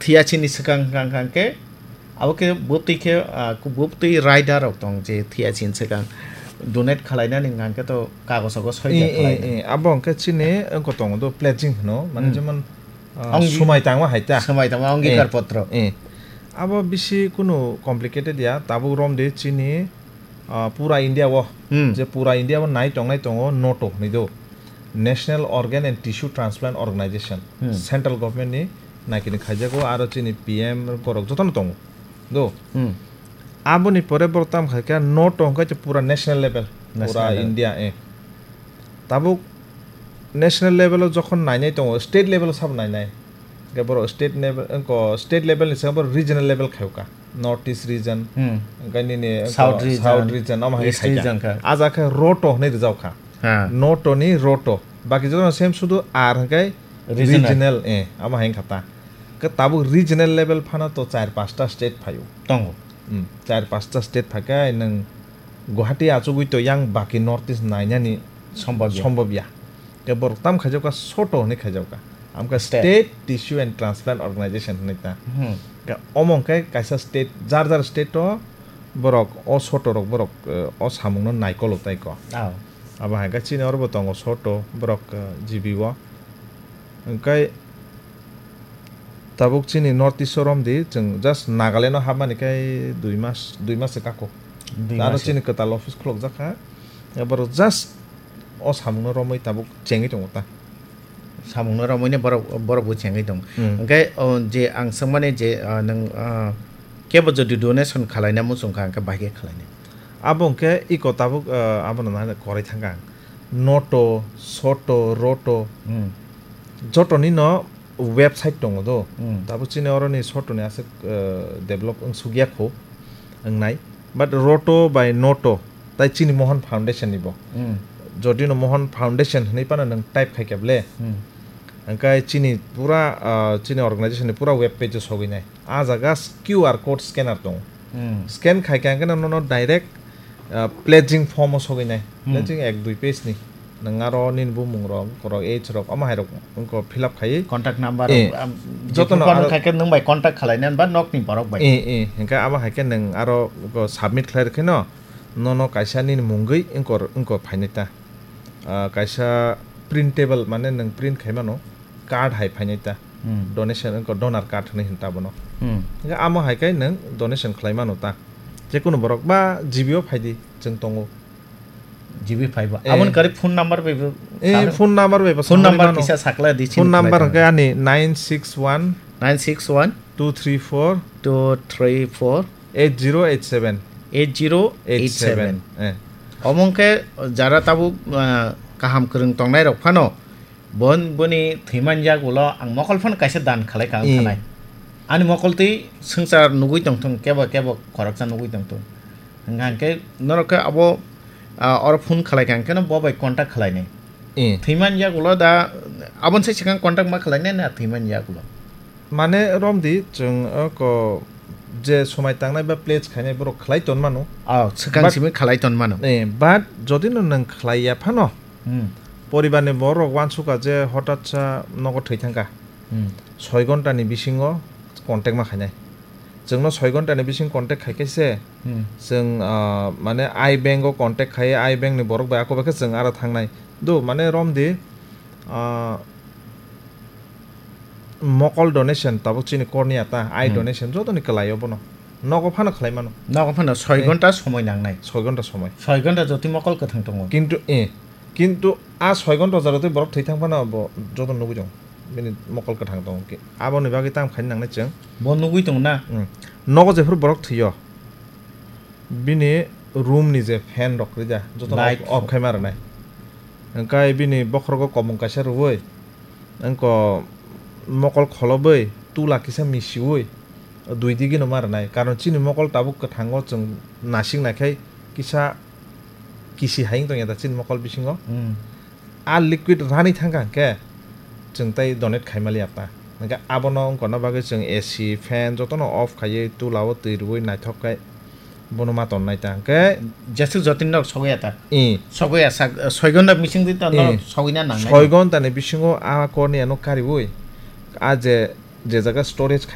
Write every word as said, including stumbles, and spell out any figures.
Thiyachini swkang hwnkha hwnkha khe, abo khe bwtwi khe, ah, bwtwi rider rok tong je thiyachini swkang donate khwlainani hwnkha khe to kagosogo soi Eh, eh, khwlainani. Eh, abo hwnkhe chini wngkha tongo do pledging hwno, mane Hmm. jemon, ah, Ongi- Swmai tangma hai ta. Swmai tangma angikar Eh, potro. eh. Abo bisi kunu complicated ya, tabuk romdi chini, ah, pura India o, Hmm. je pura India o nai tongnai tongo noto hwnwi do. National Organ and Tissue Transplant Organization, Hmm. Central Government ni naikini khaijago, aro chini P M borok jotono tongo. Do. Hmm. Aboni pore borok tam khai kha noto hwnkhe pura national level, National pura level. India, eh. Tabuk national level o jokhon nainai tongo, state level o sabo nainai. Hwnkhe borok state level, wngkha state level ni saka borok regional level khaio kha. North East region, Hmm. hwnkhe nini wngkha South region, South region, omo hai East khai kha. Region kha. Aja khe roto hwnwi rijao kha. Ha. Noto ni roto. Baki jotono same sudu R hwnkhe Regional. Regional, eh, omo hai wngkha ta. Khe tabuk regional level phano to char pasta state phaio. Tongo. Hmm, char pasta state phaikhe nwng Guwahati achugwi to yang baki North East nainani Sombobya. Sombobya. Khe borok tam khaijakha soto hwnwi khaijakha. Amkha State. State Tissue and Transplant Organization hwnwi ta. Hmm. Khe omo hwnkhe kaisa state, jar jar state o borok o soto rok borok, eh, o samungno naikolo tai ko. Ah. Abo hai khe chini oro bo tongo soto borok, eh, G B o. Hwnkhe tabuk chini North East o romdi, chwng just Nagaland o hapmani khe dui mas, dui mas se kako. Dui Aro mas se. Chini kwtal office khulukjak kha. Borok just o samungno romwi tabuk chengwi tongo ta. Samungno romwini borok, borok bo chengwi tongo. Hmm. Hwnkhe, o, je ang swngmani je, ah, nwng, ah, kebo jodi donation khwlaina muchung kha, hwnkhe bahai khe khwlainai? Abo hwnkhe iko tabuk, ah, abono nahani korai thangkha ang. Noto, soto, roto, Hmm. jotoni no website tongo do. Hmm. Tabuk chini oroni sotoni aswk, eh, develop wng sukya kho, wngnai. But roto bai noto, tai chini Mohan Foundation ni bo. Hmm. Jodi no Mohan Foundation hwnwi phano nwng type khai khe ble. Hmm. Hwnkhe chini pura, ah, chini organization ni pura web page o sogwi nai. Ah jaga s-, Q R code scanner tongo. Hmm. Scan khai khe hwnkhe nono direct, ah, pledging form o sogwi nai. Hmm. Pledging ek dui page ni. Nwng aro nini bumung rok, borok age rok, omo hai rok wngkha fill up khai. Contact number Eh, rok, am, jotono jotono aro khai khe nwng bai contact khalai nai ba nok ni borok bai. Eh, eh, hwnkhe abo hai khe nwng aro submit khlai rw khe no, nono kaisa nini mungwi wngkha, wngkha phainai ta. Ah, kaisa printable, mane nwng print khai mano, card hai phainai ta. Hmm. Donation, wngkha donor card hwnwi hwn ta bono. Hmm. Hwnkhe amo hai khe nwng donation khlai mano ta. Jekunu borok ba G B o phai di, chwng tongo. G B phai ba. Eh. Aboni kari phone number bai bo Eh, sakla. Phone number bai bo Phone sakla number mano. Kisa sakla di Phone chini number khlai hwnkhe ani nine six one nine six one two three four two three four eight zero eight seven. Eight zero eight seven. Eh. Omo hwnkhe jara tabuk, ah, kaham kwrwng tongnai rok phano, bon-, boni thwiman yak ulo ang mokol phano kaisa dan khalai ka wng Eh. Khanai. Ani mokol twi swngchar nugui tongthung, kebo kebo khoroksa nugui tongthung. Hwnkha hwnkhe norok khe abo, ah, oro phone khalai kha hwnkhe no bo bai contact khalai nai. Eh. Thwiman yak ulo da, aboni sai swkang contact ma khalai nai na thwiman yak ulo. Mane romdi chwng, o, ko, je swmai tangnai ba pledge khainai borok khlai ton mano. Oh, swkang But simi khalai ton mano. Eh, but jodi no nwng khlai ya phano, Hmm. poribar ni borok rok wansukha je hotat sa nogo thwi thangkha. Hmm. Soi ghonta ni bisingo contact ma khainai. Chwngno soi ghonta ni bising contact khai khe se Hmm. chwng, ah, mane I bank o contact khai, I bank ni borok bai ako bai khe chwng aro thangnai. Do mane romdi, ah, mokol donation tabuk chini korni ata, I Hmm. donation jotoni kwlai o bono. Nogo phano khlai mano. Nogo phano soi Eh. Ghonta somoi nangnai. Soi ghonta somoi. Soi ghonta jotwi mokol kwthang tongo. Kintu, eh, kintu a soi ghonta jora twi borok thwi thang phano bo joto nugui tongo. Bini mokol kwthang tongo. Ki-, aboni bagwi tamo khaina nangnai chwng. Bo nugui tongo na? Hmm. Nogo jephuru borok thwiyo. Bini room ni je fan rok rida, joto Light. Off, off khai ma rwnai. Hwnkhe bini bokhorogo komung kaisa rwui, wngko mokol kholobwi tula kisa misiui, dui digino ma rwnai. Karon chini mokol tabuk kwthango chwng nasing naikhai kisa kisi hai wng tongya da chini mokol bisingo. Hmm. A liquid rani thangkha hwnkhe chwng tei donate khaimaliya ta. Hwnkhe abono wngkona bagwi chwng A C, fan jotono off khaiwi tula o twi rwui naithok khe bono ma tonnai ta hwnkhe Jeswk jotini nok sogwi ya ta. I. Sogwi ya sak, soi ghonta bising di ta nok I. Sogwi na nangnai. Soi ghonta ni bisingo a korni ano kariui a je, je jaga storage khai